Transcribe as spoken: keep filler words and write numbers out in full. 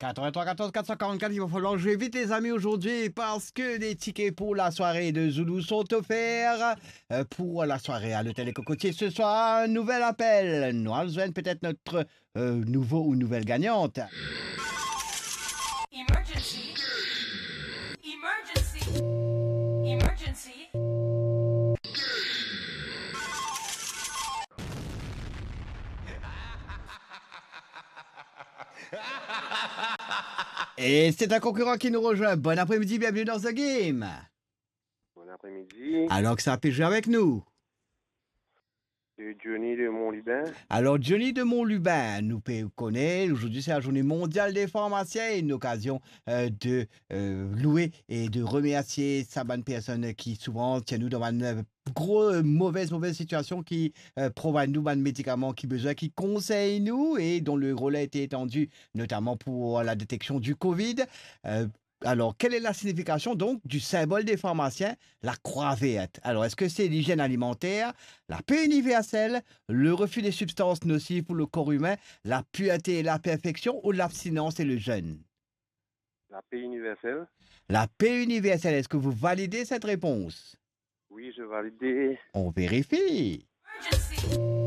Quatre-vingt-trois quatorze quatre cent quarante-quatre, il va falloir jouer vite, les amis, aujourd'hui, parce que les tickets pour la soirée de Zoulou sont offerts, euh, pour la soirée à l'hôtel Les Cocotiers ce soir. Un nouvel appel. Nous allons joindre peut-être notre, euh, nouveau ou nouvelle gagnante. Emergency. Emergency. Emergency. Et c'est un concurrent qui nous rejoint. Bon après-midi, bienvenue dans The Game. Bon après-midi. Alors, ki sa pe zwe avek nou? C'est Johnny de Montlubin. Alors, Johnny de Montlubin, nou pe kone, aujourd'hui c'est la journée mondiale des pharmaciens, une occasion, euh, de, euh, louer et de remercier sa bann personn ki souvan tir nou dan bann, euh, gro, euh, move, move sitiasion, ki, euh, provide nou bann medikaman ki bizin, ki konsey nou, et dont le rôle a été étendu, notamment pour la détection du covid. Euh, alors, quelle est la signification donc du symbole des pharmaciens, la croix verte? Alors, est-ce que c'est l'hygiène alimentaire, la paix universelle, le refus des substances nocives pour le corps humain, la pureté et la perfection, ou l'abstinence et le jeûne? La paix universelle. La paix universelle, est-ce que vous validez cette réponse? Oui, je valide. On vérifie. Emergency.